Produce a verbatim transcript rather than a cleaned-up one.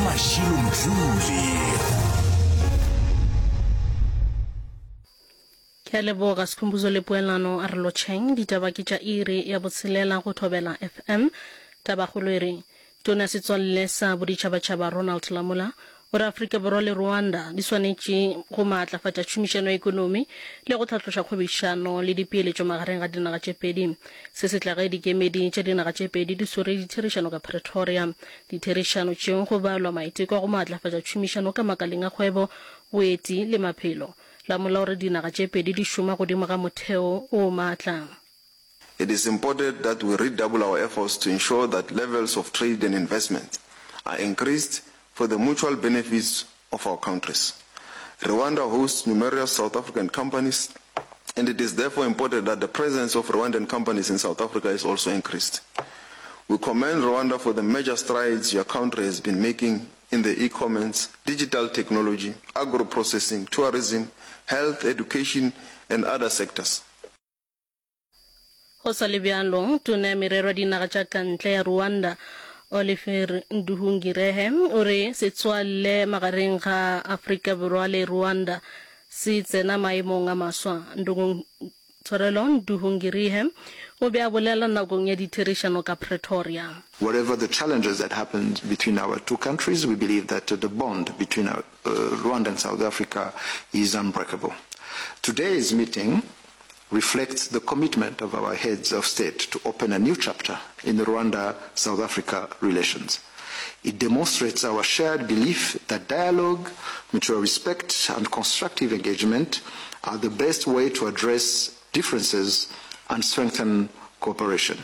Mashilo Mdluli. Ke a leboga Sikhumbuzo le Poelano a re lotšheng. Ditaba ke tša iri ya botshelela go Thobela F M. Tabakgolo e re, Tona ya Setswalle sa Boditšhabatšhaba Ronald Lamola o re Afrika Borwa le Rwanda di swanetše go maatlafatša tšhomišano ya ekonomi le go hlatloša kgwebišano le dipeeletšo magareng ga dinaga tše pedi. Se se tla ge dikemedi tša dinaga tše pedi di swere ditherišano ka Pretoria. Ditherišano tšeo go balwa maiteko a go maatlafatša tšhomišano ka makaleng a kgwebo, boeti le maphelo. Lamola o re dinaga tše pedi di šoma godimo ga motheo o maatla. It is important that we redouble our efforts to ensure that levels of trade and investments are increased for the mutual benefits of our countries. Rwanda hosts numerous South African companies, and it is therefore important that the presence of Rwandan companies in South Africa is also increased. We commend Rwanda for the major strides your country has been making in the e-commerce, digital technology, agro-processing, tourism, health, education, and other sectors. Go sa le bjalo, Tona ya Merero ya Dinaga tša ka Ntle ya Rwanda, Olivier Nduhungirehe, o re setswalle magareng ga Afrika Borwa le Rwanda se tsena maemong a maswa. Tshwarelo, Nduhungirehe o be a bolela nakong ya ditherišano ka Pretoria. Whatever the challenges that happened between our two countries, we believe that the bond between our, uh, Rwanda and South Africa is unbreakable. Today's meeting reflects the commitment of our heads of state to open a new chapter in the Rwanda-South Africa relations. It demonstrates our shared belief that dialogue, mutual respect, and constructive engagement are the best way to address differences and strengthen cooperation.